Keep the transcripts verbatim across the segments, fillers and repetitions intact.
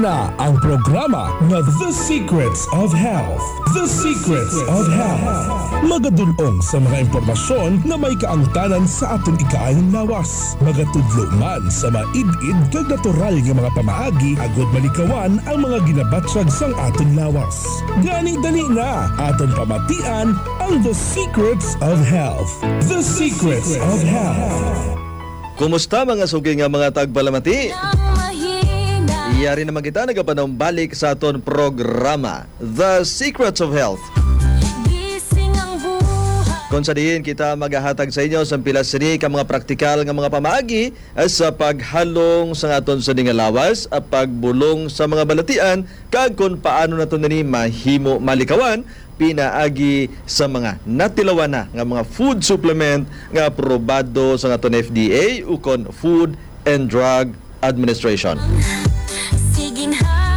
Na ang programa nga The Secrets of Health. The Secrets of Health. Magadul-ong sa mga impormasyon nga may kaangtanan sa aton ikaayong lawas. Magatudlo man sa maid-id kag natural nga mga pamaagi agud malikawan ang mga ginabatyag sang aton lawas. Gani dali na, aton pamatian ang The Secrets of Health. The Secrets of Health. Kumusta, mga suki nga mga tagpalamati? Yari naman kita nagapanumbalik sa aton programa, The Secrets of Health. Kon sa diin kita magahatag sa inyo sa pila sini ka mga praktikal nga mga pamaagi, eh, sa paghalong sa aton sini nga lawas, ah, pagbulong sa mga balatian, kag kon paano nato nini mahimo malikawan pinaagi sa mga natilawan na nga mga food supplement nga aprobado sa aton F D A ukon Food and Drug Administration.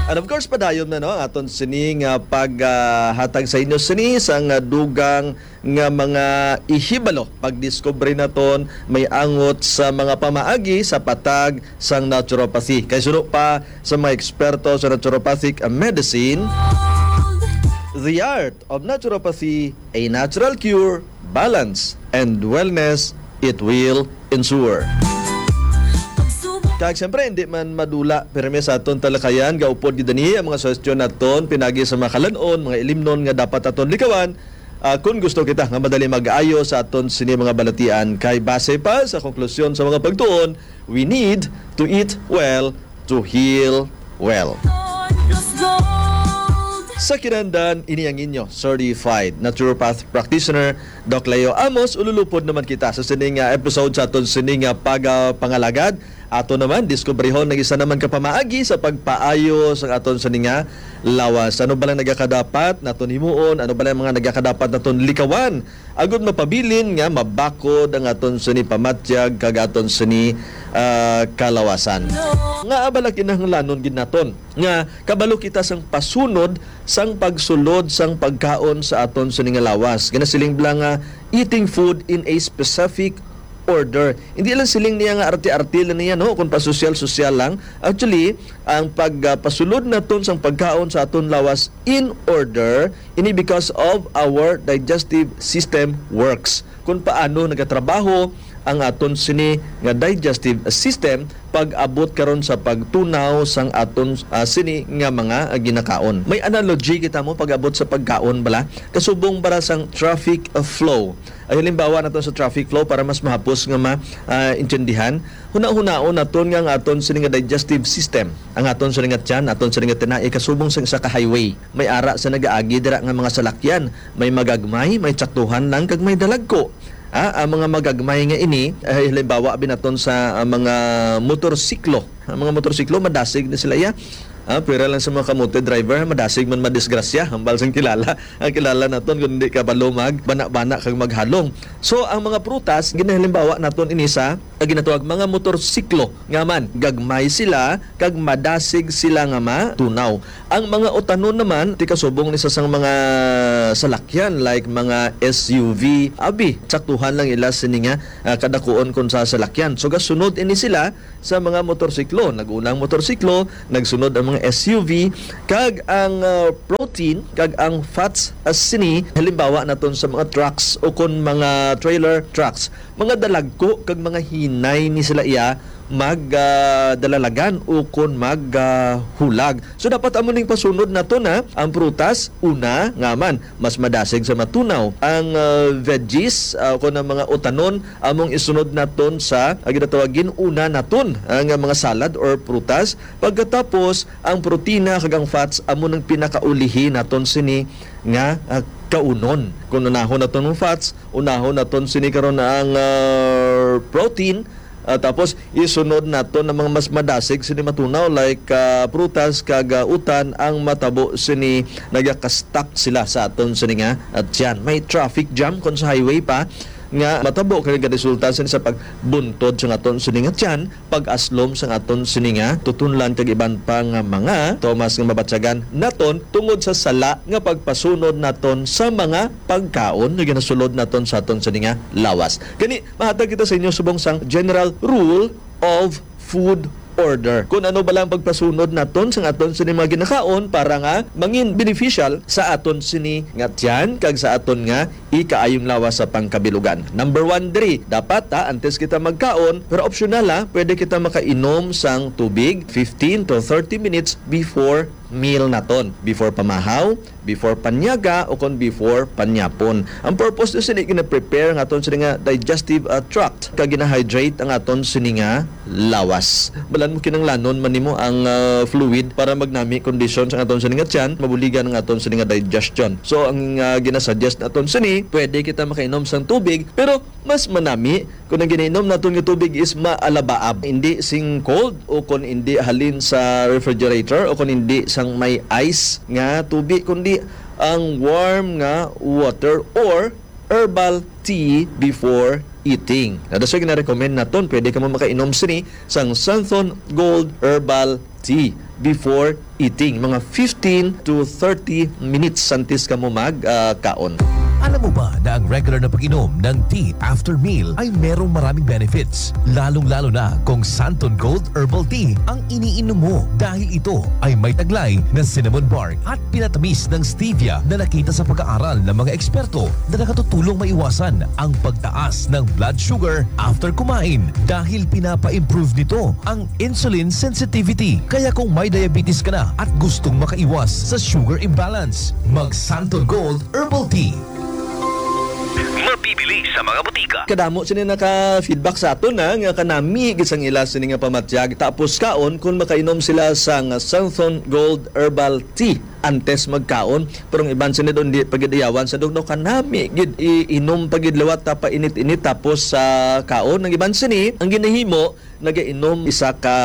And of course, padayon na, no, ang aton sini nga paghatag sa inyo sini sa nga dugang nga mga ihibalo, pagdiskubre naton may angot sa mga pamaagi sa patag sang naturopathy. Kay suno pa sa mga eksperto sa naturopathic medicine, the art of naturopathy, a natural cure, balance, and wellness, it will ensure. Kag siyempre, hindi man madula pirmi sa aton talakayan, gaupod gid ani ang mga suhestyon naton pinagi sa mga kalan-on, mga ilimnon nga dapat aton likawan, ah, kun gusto kita nga madali mag-ayo sa aton sini mga balatian, kay base pa sa konklusyon sa mga pagtuon, we need to eat well to heal well. Sa kinahanglan, ini ang inyo certified naturopath practitioner, Doc Leo Amos. Ululupod naman kita sa sining, ah, episode sa aton sining, ah, pag, ah, pangalagad. Ato naman diskubrihon ang isa naman ka pamaagi sa pagpaayo sa aton sining, ah, lawas. Ano ba lang nagakadapat naton himuon? Ano ba lang mga nagakadapat naton likawan? Agud mapabilin nga mabakod ang aton sini pamatyag kag aton sini, ah, kalawasan. Nga abala kinahanglanon gid naton nga kabalo kita sang pasunod sang pagsulod sang pagkaon sa aton sini nga lawas. Ginasiling bala nga eating food in a specific order. Hindi lang siling niya nga arte-arte lang niya, no, kung pasosyal-sosyal lang. Actually, ang pag, ah, pasulod naton sang pagkaon sa aton lawas in order, ini because of our digestive system works. Kung paano nagatrabaho ang aton sini nga digestive system pag-abot karon sa pagtunaw sang aton, ah, sini nga mga, ah, ginakaon. May analogy kita mo pag-abot sa pagkaon bala. Kasubong para sang traffic, ah, flow. Ay, halimbawa naton sa traffic flow para mas mahapos nga ma, ah, intindihan. Huna-hunaon naton nga ang aton sini nga digestive system, ang aton sini nga tiyan, aton sini nga tinai, kasubong sang isa ka highway. May ara sa nagaagi dira nga mga salakyan. May magagmay, may tsaktuhan lang, kag may dalagko. Ah, ang mga magagmay nga ini, ay, halimbawa, binaton sa, ah, mga motorsiklo. Ang mga motorsiklo, madasig na sila, iya. Ah, pira lang sa mga kamote driver, madasig man madisgrasya. Hambal sang kilala. Ang kilala naton, kung hindi ka balo mag bana-bana kag maghalong. So, ang mga prutas, ginahalimbawa naton ini sa, ang ginatawag mga motorsiklo. Nga man, gagmay sila, kag madasig sila nga matunaw. Ang mga utanon naman, ti kasubong ni sa sang mga salakyan, like mga S U V, abi, saktuhan lang ila sini nga, ah, kadakuon kon sa salakyan. So, gasunod ini sila sa mga motorsiklo. Nag-una ang motorsiklo, nagsunod ang mga S U V, kag ang, ah, protein, kag ang fats, ah, sini, halimbawa naton sa mga trucks o kon mga trailer trucks, mga dalagko kag mga hinay ni sila iya mag, ah, dalalagan o kon mag, ah, hulag. So, dapat amo ning pasunod naton, ha, ang prutas, una, nga man, mas madasig sa matunaw. Ang, ah, veggies, ah, kon ang mga utanon, among isunod naton sa, ah, ginatawag gin-una naton, ah, nga mga salad or prutas. Pagkatapos, ang protina kag ang fats amo nang pinakaulihi naton sini nga, ah, kaunon. Kung unahon naton ang fats, unahon naton sini karon ang, ah, protein. Ah, tapos isunod naton ang mga mas madasig sini matunaw, like, ah, prutas kag, ah, utan. Ang matabo sini, nagaka-stuck sila sa aton sini nga, ah, tiyan. May traffic jam kon sa highway pa nga matabo kay nagaresulta sini sa pagbuntod sa aton sini nga tiyan, pag-aslom sa aton sini nga tutunlan kag iban pa nga mga tomas nga mabatyagan naton tungod sa sala nga pagpasunod naton sa mga pagkaon nga ginasulod naton sa aton sini nga lawas. Gani, mahatag kita sa inyo subong sang general rule of food order. Kung ano bala ang pagpasunod naton sa aton sini mga ginakaon para nga mangin beneficial sa aton sini nga tiyan kag sa aton nga ikaayong lawas sa pangkabilugan. Number one diri, dapat, ha, antes kita magkaon, pero optional, ha, pwede kita makainom sang tubig fifteen to thirty minutes before meal naton, before pamahaw, before panyaga, o kon before panyapon. Ang purpose ni sini, gina-prepare ang aton sini nga digestive, ah, tract, kag gina-hydrate ang aton sini nga lawas. Balan mo, kinanglanon man nimo ang, ah, fluid para magnami kondisyon sa aton sini nga tiyan, mabuligan ang aton sini nga digestion. So, ang, ah, ginasuggest naton sini, pwede kita makainom sang tubig, pero mas manami kung ang ginainom naton nga tubig is maalabaab, hindi sing cold o kung hindi halin sa refrigerator o kung hindi sang may ice nga tubig, kundi ang warm nga water or herbal tea before eating. Na, that's why gina-recommend naton, pwede ka mo makainom sini sang Santhon Gold Herbal Tea before eating, mga fifteen to thirty minutes antes ka mo mag, ah, kaon. Alam mo ba na ang regular na pag-inom ng tea after meal ay merong maraming benefits, lalong-lalo na kung Santon Gold Herbal Tea ang iniinom mo, dahil ito ay may taglay na cinnamon bark at pinatamis ng stevia na nakita sa pag-aaral ng mga eksperto na nakatutulong maiwasan ang pagtaas ng blood sugar after kumain, dahil pinapa-improve nito ang insulin sensitivity. Kaya kung may diabetes ka na at gustong makaiwas sa sugar imbalance, mag Santon Gold Herbal Tea. Mabibili sa mga butika. Kadamo sini naka-feedback sa aton na nga kanami gid sang ila sini nga pamatyag, tapos kaon kung makainom sila sang Santhon Gold Herbal Tea antes magkaon. Pero ang iban sini doon, di pa gid iyawan sa dugno, kanami gid iinom pa gid liwat ta pa init-init tapos sa kaon. Ang iban sini, ang ginahimo, nagainom isa ka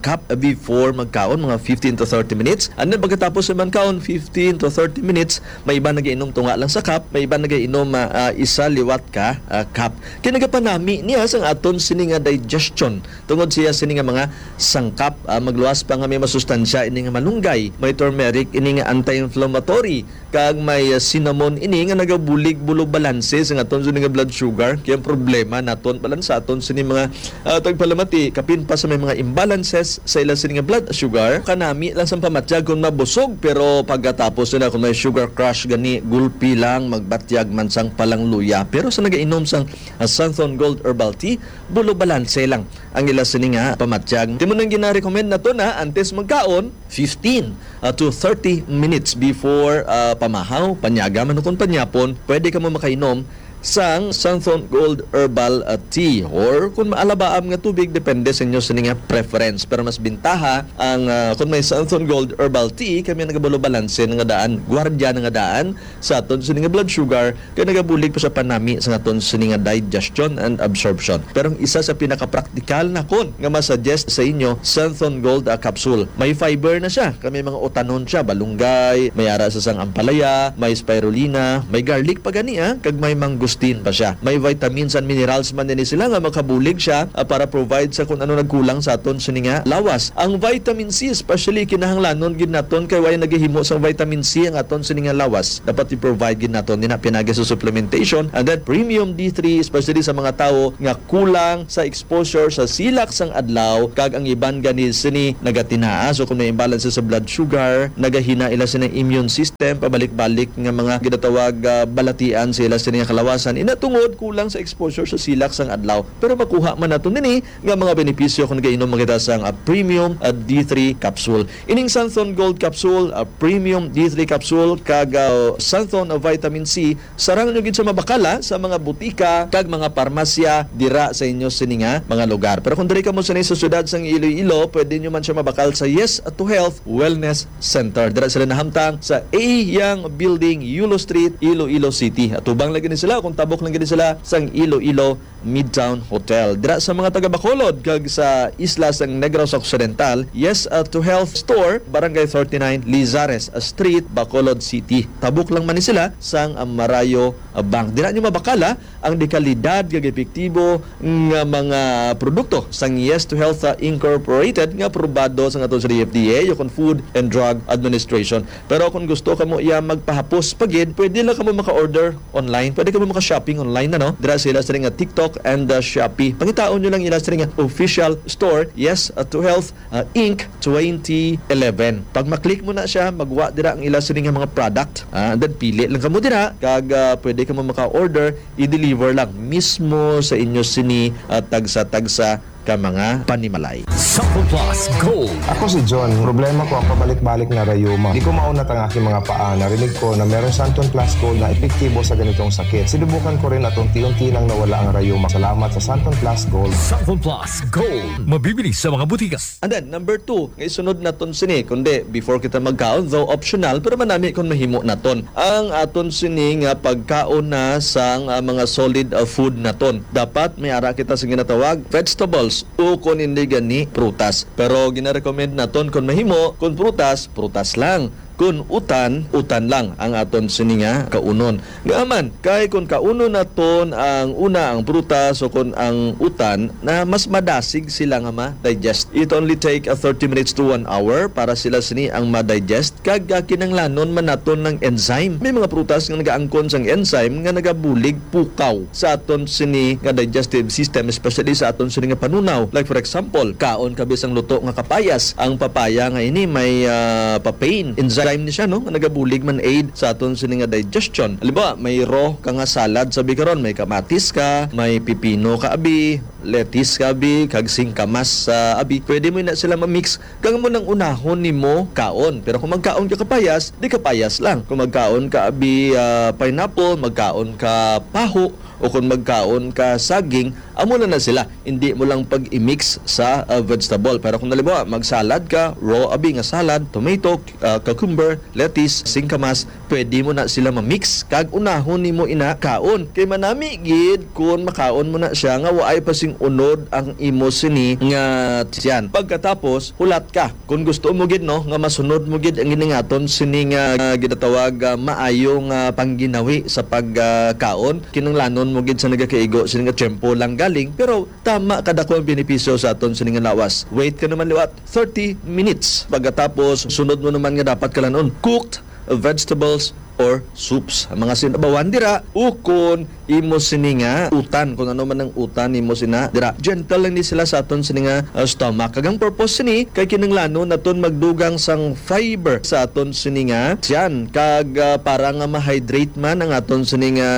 cup before magkaon, mga fifteen to thirty minutes. And then pagkatapos naman kaon, fifteen to thirty minutes, may iba nagainom tunga lang sa cup, may iba nagainom, ah, ah, isa liwat ka, ah, cup. Kaya nagapanami niya sang aton sini nga digestion. Tungod siya sini nga mga sangkap, ah, magluwas pa nga may masustansya ini nga malunggay, may turmeric ini nga anti-inflammatory, kag may, ah, cinnamon ini nga nagabulig bulo balanse sa aton sini nga blood sugar. Kaya ang problema naton, balansa aton sini mga, ah, tagpalamati, kapin pa sa may mga imbalances sa ila sini nga blood sugar. Kanami lang sang pamatyag kung mabusog, pero pagkatapos nila kung may sugar crash gani, gulpi lang, magbatyag man sang palangluya. Pero sa nagainom sang, ah, Santhon Gold Herbal Tea, bulo balanse lang ang ila sini nga pamatyag. Timo nang gina-recommend nato na antes magkaon, fifteen, ah, to thirty minutes before, ah, pamahaw, panyaga man o kon panyapon, pwede ka mo makainom sang Santhon Gold Herbal, ah, Tea, or kung maalabaab nga tubig, depende sa inyo sini nga preference. Pero mas bintaha ang, ah, kung may Santhon Gold Herbal Tea, kami ang nagabulo balanse nga daan, gwardiya nga daan sa aton sini nga blood sugar, kay nagabulig pa sa panami sa aton sini nga digestion and absorption. Pero ang isa sa pinakapraktikal nakon nga masuggest sa inyo, Santhon Gold, ah, capsule. May fiber na siya, kay may mga utanon siya, balunggay, may ara sa sang ampalaya, may spirulina, may garlic pa gani, ah, kag may mangosteen pa siya. May vitamins and minerals man din sila nga makabulig siya, ah, para provide sa kung ano nagkulang sa aton sini nga lawas. Ang vitamin C especially kinahanglanon gid naton kay way nagahimo sang vitamin C ang aton sini nga lawas. Dapat i-provide gid naton din pinagi sa supplementation. And then premium D three, especially sa mga tawo nga kulang sa exposure sa silak sang adlaw, kag ang iban gani sini nagatinaa. So kung may imbalance sa blood sugar, nagahina ila sini immune system, pabalik-balik nga mga ginatawag, ah, balatian sa ila sini nga kalawasan. Ina tungod kulang sa exposure sa silak sang adlaw. Pero makuha man nato nini nga mga benepisyo kung nagainom kita sang, ah, premium, ah, D three capsule. Ining Santhon Gold capsule, ah, premium D three capsule, kag, ah, Santhon, ah, vitamin C, sarang nyo gid sa mabakala sa mga butika kag mga parmasya dira sa inyo sini nga mga lugar. Pero kung diri kamo sini sa siyudad sang Iloilo, pwede nyo man siya mabakal sa Yes to Health Wellness Center. Dira sila nahamtang sa A Yang Building, Yulo Street, Iloilo City. Atubang lagi ni sila, kung tabok lang gid sila sang Iloilo Midtown Hotel. Dira sa mga taga Bacolod kag sa isla sang Negros Occidental, Yes, uh, to Health Store, Barangay thirty-nine, Lizares Street, Bacolod City. Tabok lang man ni sila sang, uh, Marayo, uh, Bank. Dira nyo mabakala ang dekalidad kag epektibo nga mga produkto sang Yes to Health, uh, Incorporated nga aprobado sa aton sa D F D A o kon Food and Drug Administration. Pero kung gusto kamo iya magpahapos pa gid, pwede lang kamo maka-order online. Pwede kamo maka-shopping online na, no? Dira sa ila sini nga TikTok and, uh, Shopee. Pangitaon nyo lang ila sini nga official store, Yes, uh, to Health, uh, Inc twenty eleven. Pag ma-click mo na siya, magwa dira ang ila sini nga mga product. Ah, and then pili lang kamo dira kag, ah, pwede kamo maka-order, i-deliver lang mismo sa inyo sini, ah, tagsa-tagsa ka mga panimalay. Sample Plus Gold. Ako si John. Problema ko ang pabalik-balik nga rayuma. Di ko maunat ang aking mga paa. Narinig ko na meron Santon Plus Gold na epektibo sa ganitong sakit. Sinubukan ko rin at unti-unti nang nawala ang rayuma. Salamat sa Santon Plus Gold. Sample Plus Gold. Mabibili sa mga butika. And then, number two, nga isunod naton sini, kundi before kita magkaon, though optional, pero manami kung mahimo naton. Ang aton sini nga pagkaon na sang, ah, mga solid, ah, food naton. Dapat may ara kita sa ginatawag vegetables o kung hindi gani, prutas. Pero ginarecommend naton kung mahimo, kung prutas, prutas lang. Kung utan, utan lang ang aton sini nga kaunon. Nga man, kay kung kaunon naton ang una, ang prutas, o kung ang utan, na mas madasig sila nga ma-digest. It only take a thirty minutes to one hour para sila sini ang ma-digest. Kag, ah, kinanglanon man naton ng enzyme. May mga prutas nga nagaangkon sang enzyme nga nagabulig pukaw sa aton sini nga digestive system, especially sa aton sini nga panunaw. Like, for example, kaon ka bisang luto nga kapayas. Ang papaya nga ini may, ah, papain enzyme ni siya, no, nga nagabulig man aid sa aton sini nga digestion. Halimbawa, may raw ka nga salad sa bikaron, may kamatis ka, may pipino ka abi, lettuce ka abi, kag singkamas sa abi. Pwede mo na sila ma-mix kag amo nang unahon nimo kaon. Pero kung magkaon ka kapayas, di kapayas lang. Kung magkaon ka abi, ah, pineapple, magkaon ka paho, o kung magkaon ka saging, amo na na sila. Hindi mo lang pag-i-mix sa, ah, vegetable. Pero kung halimbawa, magsalad ka, raw abi nga salad, tomato, ah, cucumber, lettuce, singkamas, pwede mo na sila ma-mix kag unahon nimo ina kaon. Kay manami gid kun makaon mo na siya nga waay pa sing unod ang imo sini nga tiyan. Pagkatapos, hulat ka. Kung gusto mo gid, no, nga masunod mo gid ang giningaton sini nga, ah, ginatawag, ah, maayo nga pangginawi sa pagkaon, kinanglanon mo gid sa nagakaigo sini nga tiyempo lang galing, pero tama kadako ang benepisyo sa aton sini nga lawas. Wait ka naman liwat thirty minutes. Pagkatapos, sunod mo naman nga dapat kalanon, cooked vegetables or soups. Ang mga sinabawan dira, ukon imo sini nga utan, kung ano man ang utan imo sina dira. Gentle lang ni sila sa aton sini nga, uh, stomach. Kag ang purpose sini kay kinanglanon naton magdugang sang fiber sa aton sini nga tiyan. Kag, uh, para nga ma-hydrate man ang aton sini nga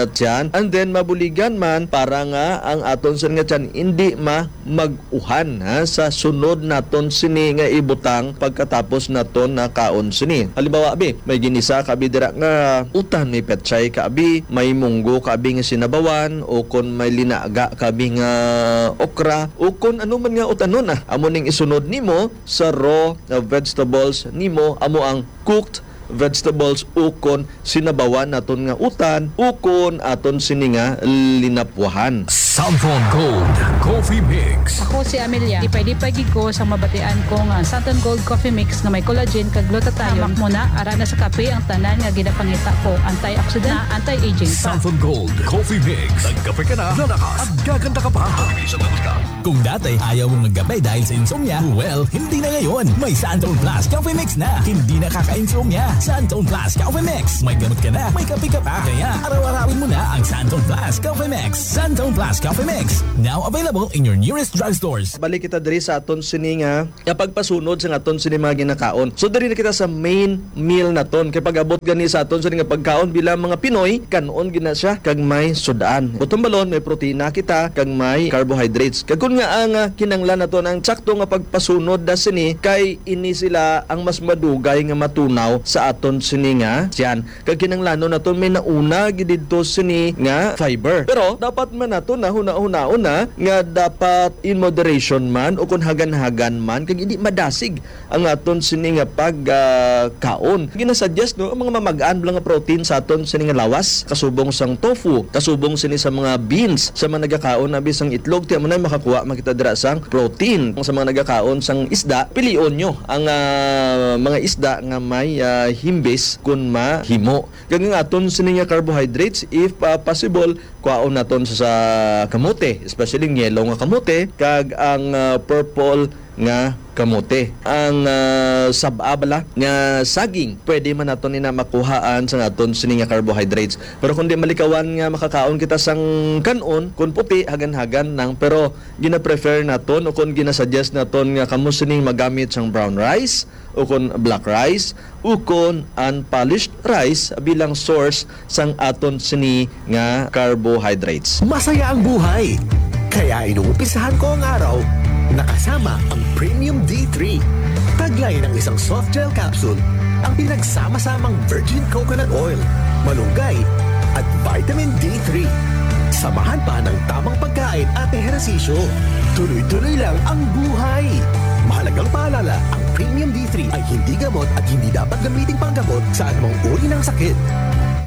tiyan. And then mabuligan man para nga ang aton sini nga tiyan hindi ma mag-uhan, ha, sa sunod naton sini nga ibutang pagkatapos naton nakaon sini. Halimbawa, abi, may ginisa ka abi dira nga utan, may petchay ka abi, may munggo ka abi nga sinabawan, o kon may linaga ka abi nga okra, o kon ano man nga utanon, ah. Amo ning isunod nimo sa raw, uh, vegetables nimo, amo ang cooked vegetables ukon sinabawan naton nga utan ukon aton sini nga linapwahan. Samson Gold Coffee Mix. Ako si Amelia. Lipay-lipay gid ko sa mabatian ko nga Santon Gold Coffee Mix nga may collagen kag glutathione. Hamak mo na, ara na sa kape ang tanan nga ginapangita ko. Antioxidant, anti-aging pa. Samson Gold Coffee Mix. Nagkape ka na, lalakas at gaganda ka pa. Kung dati ayaw mong magkape dahil sa insomnia, well, hindi na ngayon. May Santon Plus Coffee Mix na. Hindi nakaka-insomnia. Santon Plus Coffee Mix. May gamot ka na, may kape ka pa. Kaya araw-arawin mo na ang Santon Plus Coffee Mix. Santon Plus Coffee Mix. Now available in your nearest drugstores. Balik kita diri sa aton sini nga, nga pagpasunod sa aton sini mga ginakaon. So, diri na kita sa main meal naton. Kay pag-abot gani sa aton sini nga pagkaon bilang mga Pinoy, kan-on gina siya kag may sud-an. Butong balon, may protina kita kag may carbohydrates. Kag kun nga ang, ah, kinanglan naton ang sakto nga pagpasunod na sini, kay ini sila ang mas madugay nga matunaw sa aton sini nga tiyan. Kag kinanglanon naton may nauna gid didto sini nga fiber. Pero dapat man naton na hunahunaon na nga dapat in moderation man o kun hagan-hagan man kag hindi madasig ang aton sini nga pag, ah, kaon. Ginasuggest, no, ang mga mamag-an lang nga protein sa aton sini nga lawas, kasubong sang tofu, kasubong sini sa mga beans, sa mga nagakaon abi sang itlog, ti amo na makakuha man kita dira sang protein. Sa mga nagakaon sang isda, pilion nyo ang, ah, mga isda nga may, ah, himbis kun mahimo. Kag ang aton sini nga carbohydrates, if, ah, possible, kuhaon naton sa, sa kamote, especially ang yellow nga kamote, kag ang, ah, purple nga kamote. Ang, ah, sab-a bala nga saging, pwede man naton ina makuhaan sa aton sini nga carbohydrates. Pero kung di malikawan nga makakaon kita sang kan-on, kung puti, hagan-hagan lang. Pero gina-prefer naton o kung ginasuggest naton nga kamo sining magamit sang brown rice o kung black rice o kung unpolished rice bilang source sang aton sini nga carbohydrates. Masaya ang buhay. Kaya inumpisahan ko ang araw nakasama ang Premium D three. Taglay ng isang soft gel capsule ang pinagsama-samang virgin coconut oil, malunggay, at vitamin D three. Samahan pa ng tamang pagkain at ehersisyo. Tuloy-tuloy lang ang buhay. Mahalagang paalala, ang Premium D three ay hindi gamot at hindi dapat gamiting panggamot sa anumang uri ng sakit.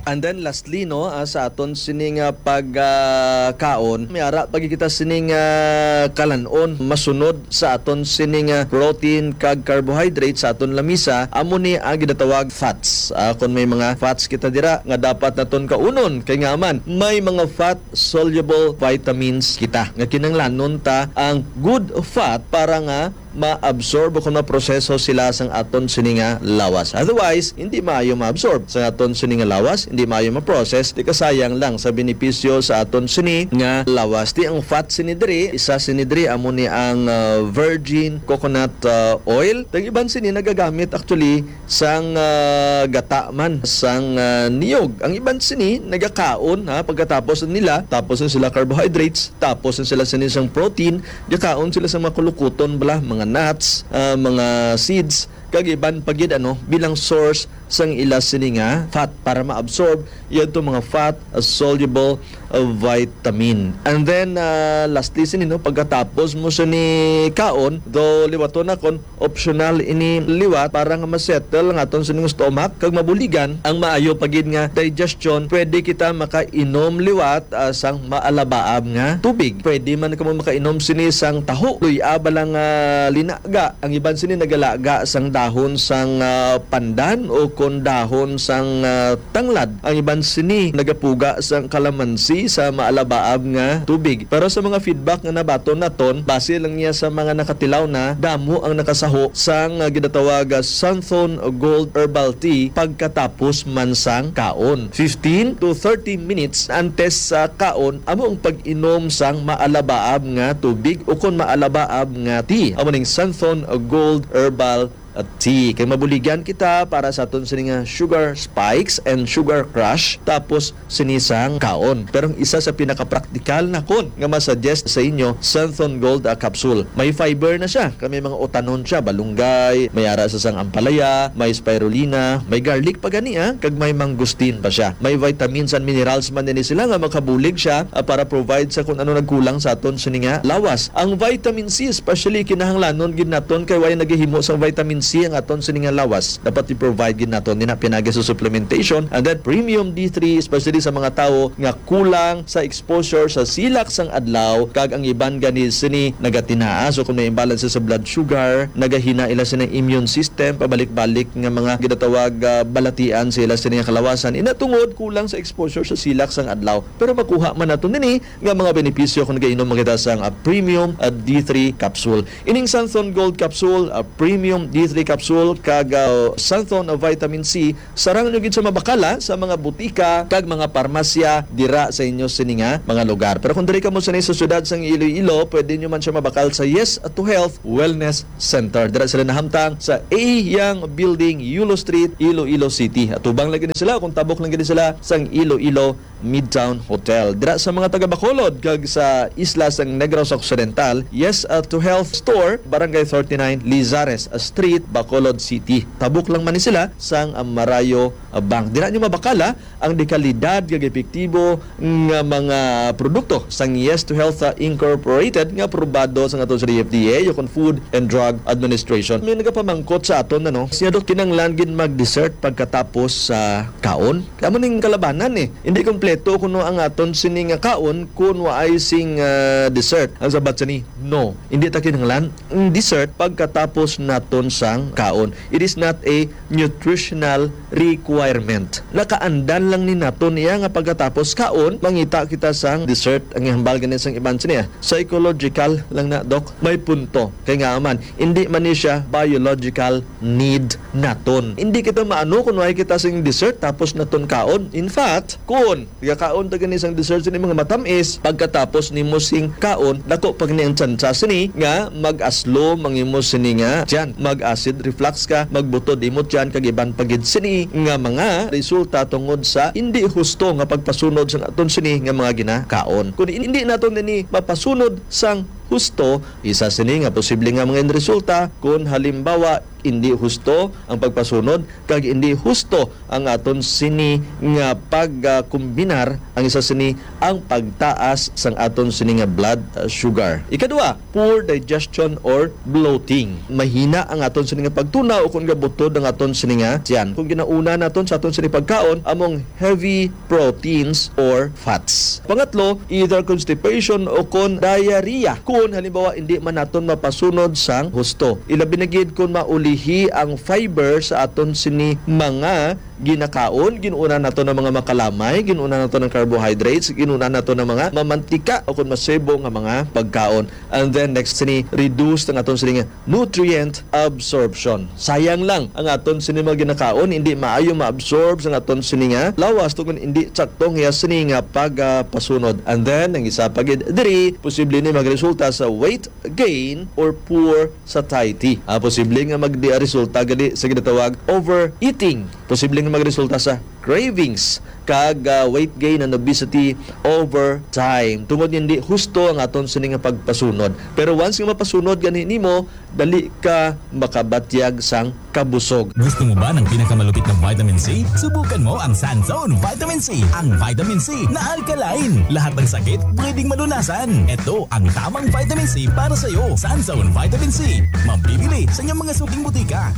And then lastly, no, ah, sa aton sining, ah, pag, ah, kaon, may ara pa gid kita sining, ah, kalan-on masunod sa aton sining, ah, protein kag carbohydrate sa aton lamisa, amo ni ang ginatawag fats. Ah, kung may mga fats kita dira nga dapat naton kaunon, kay nga man may mga fat soluble vitamins kita nga kinahanglanon ta ang good fat para nga ma-absorb o kung maproseso sila sang aton sini nga lawas. Otherwise, hindi maayo ma-absorb sang aton sini nga lawas, hindi maayo ma-process, di kasayang lang sa benepisyo sa aton sini nga lawas. Di ang fat sini diri, isa sini diri amo ni ang, ah, virgin coconut, ah, oil. Ang iban sini nagagamit actually sang, ah, gata man sang, ah, niyog. Ang iban sini nagakaon, ha, pagkatapos nila, tapos na sila carbohydrates, tapos na sila sini sang protein, gakaon sila sa mga kulukuton bala, mga nuts, ah, mga seeds, kag iban pa gid, ano, bilang source sang ila sini nga fat para ma-absorb yadto mga fat, ah, soluble, ah, vitamin. And then, ah, lastly sini, no, pagkatapos mo sini kaon, though liwaton nakon, optional ini liwat para nga ma-settle ang aton sining stomach kag mabuligan ang maayo pa gid nga digestion, pwede kita makainom liwat, ah, sang maalabaab nga tubig. Pwede man kamo makainom sini sang taho. Luy-a bala nga linaga. Ang iban sini nagalaga sang dahon sang, ah, pandan o kon dahon sang, ah, tanglad. Ang iban sini nagapuga sang kalamansi sa maalabaab nga tubig. Pero sa mga feedback nga nabaton naton, base lang niya sa mga nakatilaw na, damo ang nakasaho sang, ah, ginatawag, ah, Santhon Gold Herbal Tea pagkatapos man sang kaon. Fifteen to thirty minutes antes sa kaon, amo ang pag-inom sang maalabaab nga tubig o kon maalabaab nga tea. Amo ning Santhon Gold Herbal tea. Kay mabuligan kita para sa aton sini nga sugar spikes and sugar crash, tapos sini sang kaon. Pero ang isa sa pinakapraktikal nakon nga masuggest sa inyo, Santhon Gold, ah, capsule. May fiber na siya, kay may mga utanon siya, balunggay, may ara sa sang ampalaya, may spirulina, may garlic pa gani, ah, kag may mangosteen pa siya. May vitamins and minerals man din sila nga makabulig siya, ah, para provide sa kung ano nagkulang sa aton sini nga lawas. Ang vitamin C especially kinahanglanon gid naton kay way nagahimo sang vitamin C ang aton sini nga lawas. Dapat i-provide gid naton dinha pinagi sa supplementation. And then premium D three, especially sa mga tawo nga kulang sa exposure sa silak sang adlaw, kag ang iban gani sini nagatinaa. So kung may imbalance sa blood sugar, nagahina ila sini immune system, pabalik-balik nga mga ginatawag, ah, balatian sa ila sini nga kalawasan. Ina tungod kulang sa exposure sa silak sang adlaw. Pero makuha man naton ini nga mga benepisyo kung nagainom man kita sang, ah, premium, ah, D three capsule. Ining Santhon Gold Capsule, ah, Premium D three Capsule, kag, ah, Santhon, ah, Vitamin C, sarang nyo gid sa mabakala sa mga butika kag mga parmasya dira sa inyo sini nga mga lugar. Pero kung diri kamo sini sa siyudad sang Iloilo, pwede nyo man siya mabakal sa Yes to Health Wellness Center. Dira sila nahamtang sa A Young Building, Yulo Street, Iloilo City. Atubang lagi ni sila kung tabok lang gid sila sang Iloilo Midtown Hotel. Dira sa mga taga Bacolod kag sa isla sang Negros Occidental, Yes, uh, to Health Store, Barangay thirty-nine, Lizares Street, Bacolod City. Tabok lang man ni sila sang, uh, Marayo, uh, Bank. Dira nyo mabakala ang dekalidad kag epektibo nga mga produkto sang Yes to Health, uh, Incorporated nga aprobado sa aton sa D F D A, o kon Food and Drug Administration. May nagapamangkot sa aton, ano, siya, "Dok, kinanglan gid mag-dessert pagkatapos sa kaon?" Amo ning kalabanan, eh. Hindi kompleto kuno ang aton sini nga kaon kun waay sing, ah, dessert. Ang sabat sini, no. Hindi ta kinahanglan ang dessert pagkatapos naton sang kaon. It is not a nutritional requirement. Nakaandan lang ni naton iya nga pagkatapos kaon, mangita kita sang dessert. Ang ihambal gani sang iban sini, ah, psychological lang na, Doc. May punto. Kay nga man, hindi man ni siya biological need naton. Hindi kita maano kung wala kita sing dessert tapos naton kaon. In fact, kung gakaon ta gani sang dessert sini mga matamis, pagkatapos nimo sing kaon, dako pa gani ang tsansa sini nga mag-aslom ang imo sini nga tiyan, mag-acid reflux ka, magbutod imo tiyan, kag iban pa gid sini nga mga resulta tungod sa hindi husto nga pagpasunod sang aton sini nga mga ginakaon. Kung hindi naton ini mapasunod sang husto, isa sini nga posible nga mga resulta, kung halimbawa hindi husto ang pagpasunod kag hindi husto ang aton sini nga pagkombinar, ang isa sini ang pagtaas sang aton sini nga blood, uh, sugar. Ikadua, poor digestion or bloating. Mahina ang aton sini nga pagtunaw o kung gabutod ang aton sini nga tiyan. Kung ginauna naton sa aton sini pagkaon, among heavy proteins or fats. Pangatlo, either constipation o kon diarrhea. Kung halimbawa, hindi man naton mapasunod sang husto. Ilabi na gid kung maulihi ang fiber sa aton sini mga ginakaon, ginunan nato ng mga makalamay, ginunan nato ng carbohydrates, ginunan nato ng mga mamantika o kung masebo nga mga pagkaon. And then next sini, reduce ang aton sini nga nutrient absorption. Sayang lang ang aton sini mga ginakaon, hindi maayo ma-absorb sa aton sini nga lawas tungod hindi sakto ang iya sini nga pagpasunod. And then ang isa pa gid diri, posible ni magresulta sa weight gain or poor satiety. Ah, posible nga magdi resulta gali sa ginatawag overeating. Posible nga magresulta sa cravings kag, ah, weight gain and obesity over time. Tungod hindi husto ang aton sini nga pagpasunod. Pero once nga mapasunod gani nimo, dali ka makabatyag sang kabusog. Gusto mo ba ng pinakamalupit na vitamin C? Subukan mo ang Sanzone Vitamin C. Ang vitamin C na alkaline. Lahat ng sakit pwedeng malunasan. Ito ang tamang vitamin C para sa iyo. Sanzone Vitamin C. Mabibili sa inyong mga suking butika.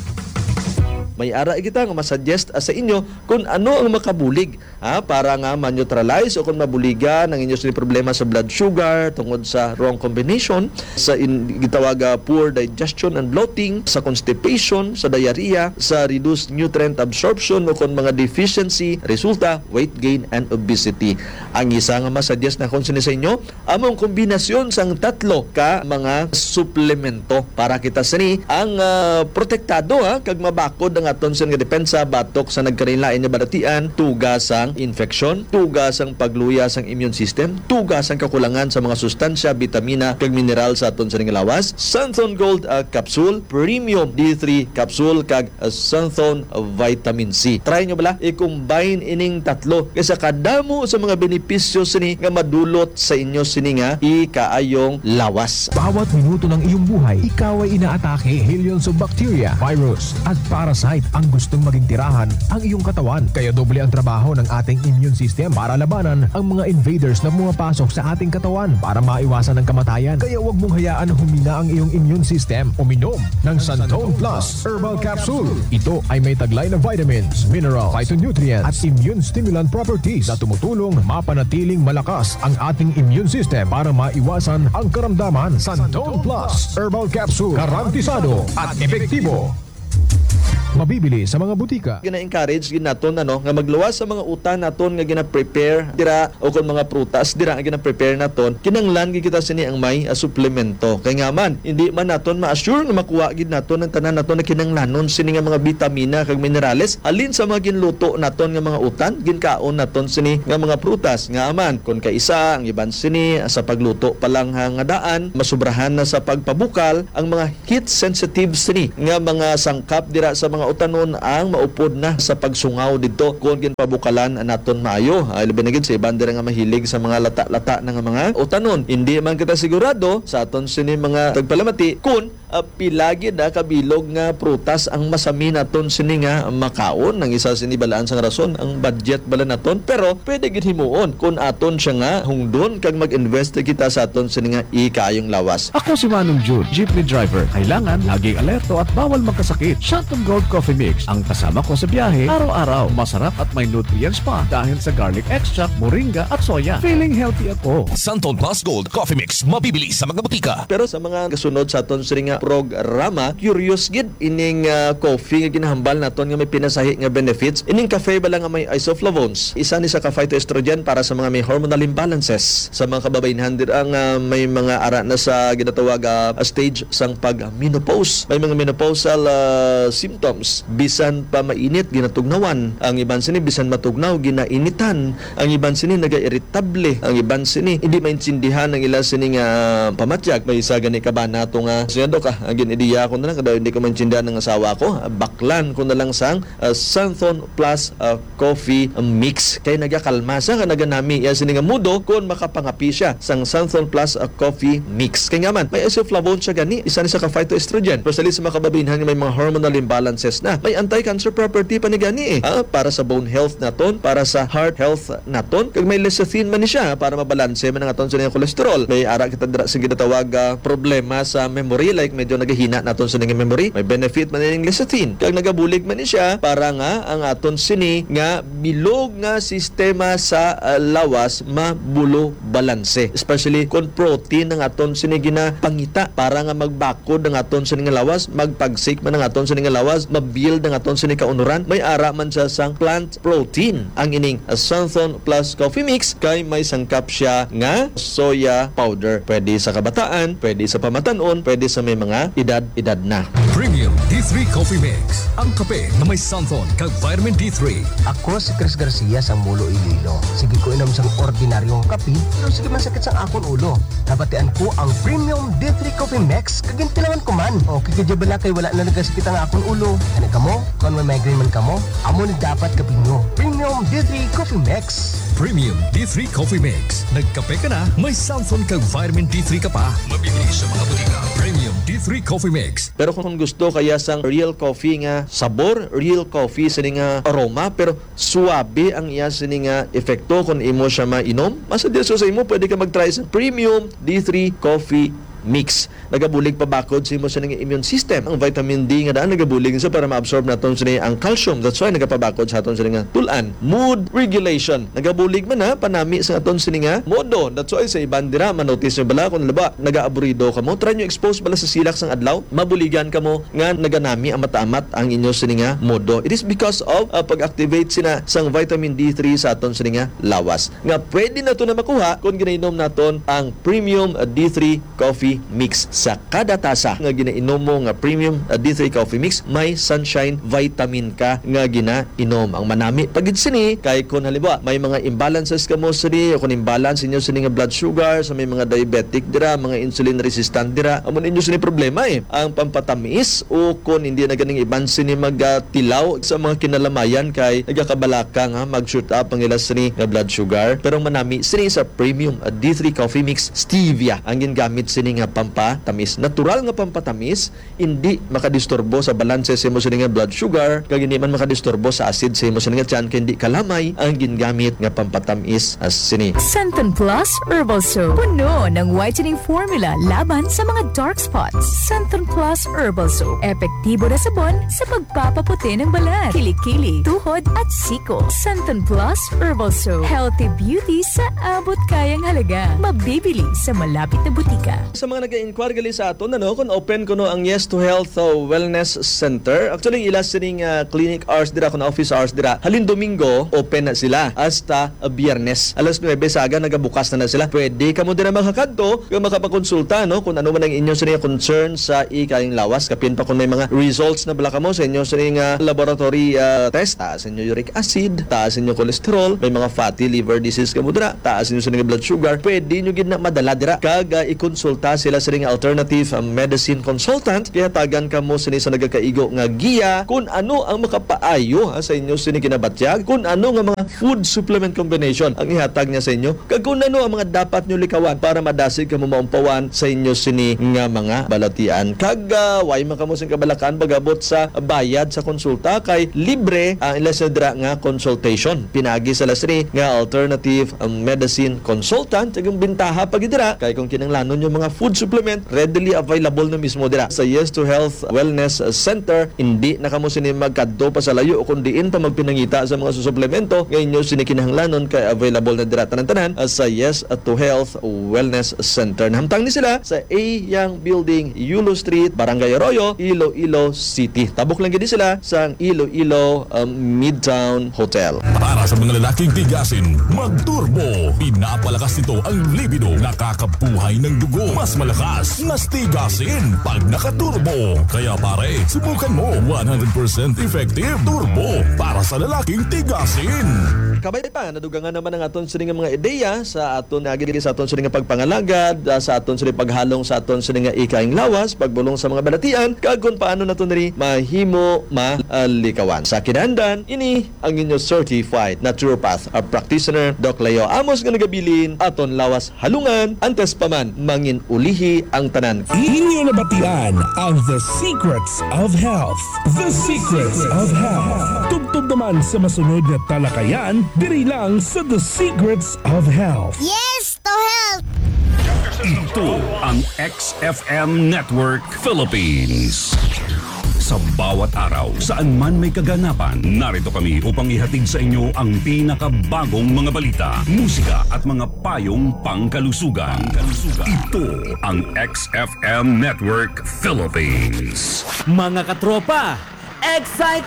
May ara kita nga masuggest, ah, sa inyo kung ano ang makabulig, ah, para nga ma-neutralize o kung mabuligan ang inyo sini problema sa blood sugar tungod sa wrong combination sa in-, gitawag, ah, poor digestion and bloating, sa constipation, sa diarrhea, sa reduced nutrient absorption o kung mga deficiency, resulta weight gain and obesity. Ang isa nga masuggest na kung sini sa inyo, amo ang kombinasyon sang tatlo ka mga suplemento para kita sini ang, ah, protektado, ha, kag mabakod ang aton sini nga depensa batok sa nagkalainlain nga balatian, tuga sang infeksyon, tuga sang pagluya sang immune system, tuga sang kakulangan sa mga sustansya, bitamina, kag mineral sa aton sini nga lawas. Santhon Gold, ah, Capsule, Premium D three Capsule, kag Santhon Vitamin C. Try nyo bala, i-combine ining tatlo kay sa kadamo sa mga benepisyo sini nga madulot sa inyo sini nga ikaayong lawas. Bawat minuto ng iyong buhay, ikaw ay inaatake. Millions of bacteria, virus, at parasite ang gustong maging tirahan ang iyong katawan. Kaya doble ang trabaho ng ating immune system para labanan ang mga invaders na pumapasok sa ating katawan. Para maiwasan ang kamatayan, kaya huwag mong hayaan na humina ang iyong immune system. Uminom ng Santon Plus Herbal Capsule. Ito ay may taglay na vitamins, mineral, phytonutrients, at immune stimulant properties na tumutulong mapanatiling malakas ang ating immune system para maiwasan ang karamdaman. Santon Plus Herbal Capsule, garantisado at epektibo. Mabibili sa mga butika. Gina-encourage gid naton, ano, nga magluwas sa mga utan naton nga gina-prepare dira o kon mga prutas dira nga gina-prepare naton, kinahanglan gid kita sini ang may, ah, suplemento. Kay nga man, hindi man naton ma-assure nga makuha gid naton ang tanan naton nga kinahanglanon sini nga mga bitamina kag minerales halin sa mga ginluto naton nga mga utan, ginkaon naton sini nga mga prutas. Nga man, kon kaisa, ang iban sini, ah, sa pagluto pa lang ha nga daan, masubrahan na sa pagpabukal ang mga heat sensitive sini nga mga sangkap dira sa mga utanon ang maupod na sa pagsungaw didto kon ginpabukalan naton maayo. Ay, labi na gid sa iban dira nga mahilig sa mga lata-lata na nga mga utanon. Hindi man kita sigurado sa aton sini mga tagpalamati kon, ah, pila gid, ah, kabilog nga prutas ang masami naton sini nga makaon. Ang isa sini balaan sang rason, ang budget bala naton. Pero pwede gid himuon kon aton siya nga hungdon kag mag-invest kita sa aton sini nga ikaayong lawas. Ako si Manong Jun, jeepney driver. Kailangan laging alerto at bawal magkasakit. Santon Gold Coffee Mix ang kasama ko sa biyahe araw-araw. Masarap at may nutrients pa dahil sa garlic extract, moringa at soya. Feeling healthy ako. Santon Plus Gold Coffee Mix, mabibili sa mga butika. Pero sa mga kasunod sa aton sini nga programa. Curious gid ining, ah, coffee nga ginahambal naton nga may pinasahi nga benefits. Ining cafe bala nga may isoflavones, isa ni sa ka phytoestrogen para sa mga may hormonal imbalances. Sa mga kababaynhan dira nga may mga ara na sa ginatawag, ah, stage sang pag-menopause, may mga menopausal, ah, symptoms, bisan pa mainit, ginatugnawan. Ang iban sini bisan matugnaw, ginainitan. Ang iban sini nagairitable. Ang iban sini hindi maintindihan ang ila sini nga pamatyag. May isa gani ka ba nato nga, "Sige, Dok, ah, ang gin-ideya ko na lang, kada hindi ko maintindihan ng asawa ko, ah, baklan ko na lang sang, ah, Santhon Plus, ah, Coffee Mix. Kay nagakalma siya, ka naganami iya sini nga mudo kon makapangapi siya sang Santhon Plus, ah, Coffee Mix." Kay nga man, may isoflavone siya gani, isa ni sa ka phytoestrogen. Especially sa mga kababaynhan nga may mga hormonal imbalances na. May anti-cancer property pa ni gani eh. Ah, para sa bone health naton, para sa heart health naton. Kag may lecithin man ni siya para mabalanse man ang aton sini nga cholesterol. May ara kita dira sa ginatawag, ah, problema sa memory, like medyo nagahina naton sini nga memory. May benefit man ning lecithin. Kag nagabulig man ni siya para nga ang aton sini nga bilog nga sistema sa, ah, lawas mabulo balanse. Especially kung protein ang aton sini ginapangita para nga magbakod ang aton sini nga lawas, magpagsik man ang aton sini nga lawas, mabuild ang aton sini kaunuran. May ara man siya sang plant protein. Ang ining Santhon Plus Coffee Mix kay may sangkap siya nga soya powder. Pwede sa kabataan, pwede sa pamatan-on, pwede sa may mga edad-edad na. Premium D three Coffee Mix, ang kape nga may santhon kag vitamin D three. Ako si Chris Garcia sang Mulo, Iloilo. Sige ko inom sang ordinaryong kape, pero sige man sakit sang akon ulo. Nabatian ko ang Premium D three Coffee Mix, kag gintilawan ko man. Okay ka dyan bala kay wala na nagasakit ang akon ulo? Ano kamo? Kung may migraine man kamo, amo ni dapat kape nyo. Premium D three Coffee Mix. Premium D three Coffee Mix. Nagkape ka na, may santhon kag vitamin D three ka pa. Mabibili sa mga butika. Premium D three Coffee Mix. Pero kung gusto kaya sang real coffee nga sabor, real coffee sini nga aroma, pero suabe ang iya sini nga epekto kung imo siya mainom, mas additional sa imo, pwede ka mag-try sa Premium D three Coffee Mix. Nagabulig pabakod sa imo sini nga immune system. Ang vitamin D nga daan nagabulig siya para ma-absorb naton sini ang calcium. That's why nagapabakod sa aton sini nga tul-an. Mood regulation. Nagabulig man na panami sa aton sini nga modo. That's why sa iban dira, manotice nyo bala kung, halimbawa, nagaaburido kamo, try nyo expose bala sa silak sang adlaw, mabuligan kamo nga naganami ang mataamat ang inyo sini nga modo. It is because of, uh, pag-activate sina sang vitamin D three sa aton sini nga lawas, nga pwede nato na makuha kon ginainom naton ang Premium, uh, D three Coffee Mix. Sa kada tasa nga ginainom mo nga Premium, uh, D three Coffee Mix, may Sunshine Vitamin ka nga ginainom. Ang manami pa gid sini kay kung halimbawa may mga imbalances kamo sini, o kung imbalance inyo sini nga blood sugar, sa may mga diabetic dira, mga insulin resistant dira, amo ninyo sini problema eh. Ang pampatamis o kung hindi na ganing iban sini magatilaw sa mga kinalamayan kay nagakabalaka nga mag-shoot up ang ila sini nga blood sugar. Pero manami sini sa Premium, uh, D three Coffee Mix. Stevia ang gingamit sini nga pampatamis. Natural nga pampatamis, hindi makadisturbo sa balanse sa imo sini nga blood sugar, kag hindi man makadisturbo sa acid sa imo sini nga tiyan, kay hindi kalamay ang gingamit nga pampatamis, ah, sini. Santon Plus Herbal Soap. Puno ng whitening formula laban sa mga dark spots. Santon Plus Herbal Soap. Epektibo na sabon sa pagpapaputi ng balat, kilikili, tuhod, at siko. Santon Plus Herbal Soap. Healthy beauty sa abot kayang halaga. Mabibili sa malapit na butika. Sa mga nag-inquire gali sa aton, ano, kung open kuno ang Yes to Health, uh, Wellness Center. Actually, ila sining, uh, clinic hours dira, kung office hours dira. Halin Domingo, open na sila hasta, uh, Biyernes. Alas nuebe sa aga, nagabukas na, na sila. Pwede kamo dira makakadto, kung makapakonsulta, no, kung ano man ang inyo sini concern sa ikayong lawas. Kapin pa kung may mga results na bala kamo sa inyo sini nga laboratory, uh, test, taas inyo uric acid, taas inyo cholesterol, may mga fatty liver disease kamo dira, taas inyo sini nga blood sugar, pwede nyo gid na madala dira kag, ah, ikonsulta sila sining alternative, ah, medicine consultant. Kay hatagan kamo sini sa nagakaigo nga giya kung ano ang makapaayo, ah, sa inyo sini kinabatyag, kung ano nga mga food supplement combination ang ihatag niya sa inyo, kag kung ano ang mga dapat nyo likawan para madasig kamo maumpawan sa inyo sini nga mga balatian. Kag, ah, way man kamo sing kabalakan pag-abot sa bayad sa konsulta, kay libre ang ila sa dira nga consultation. Pinaagi sa lasri nga alternative, um, medicine consultant, kag ang bintaha pa gid dira kay kung kinahanglanon yung mga food supplement, readily available na mismo dira sa Yes to Health Wellness Center. Hindi na kamo sini magkadto pa sa layo o kung diin pa magpinangita sa mga suplemento nga inyo sini kinahanglanon, kay available na dira tanan-tanan, ah, sa Yes to Health Wellness Center. Nahamtang ni sila sa A Yang Building, Yulo Street, Barangay Arroyo, Iloilo City. Tabok lang gid sila sa Iloilo, um, Midtown Hotel. Para sa mga lalaking tigasin, mag-turbo. Pinapalakas nito ang libido, nakakabuhay ng dugo. Mas malakas, mas tigasin pag naka-turbo. Kaya pare, subukan mo. One hundred percent effective. Turbo para sa lalaking tigasin. Kabay pa, nadugangan naman ang aton sini nga mga ideya sa aton agi sa aton sini nga pagpangalagad, ah, sa aton sini paghalong sa aton sini nga ikaing lawas, pagbulong sa mga balatian, kag kung paano nato niri mahimo malikawan. Sa kinahanglan, ini ang inyo certified naturopath, a practitioner, Doc Leo Amos, nga nagabilin, aton lawas halungan, antes pa man mangin ulihi ang tanan. Inyo nabatian ang The Secrets of Health. The Secrets of Health. Tubtob naman sa masunod nga talakayan, diri lang sa The Secrets of Health. Yes to health! Ito ang X F M Network Philippines. Sa bawat araw, saan man may kaganapan, narito kami upang ihatid sa inyo ang pinakabagong mga balita, musika at mga payong pangkalusugan. Ito ang X F M Network Philippines. Mga katropa, excited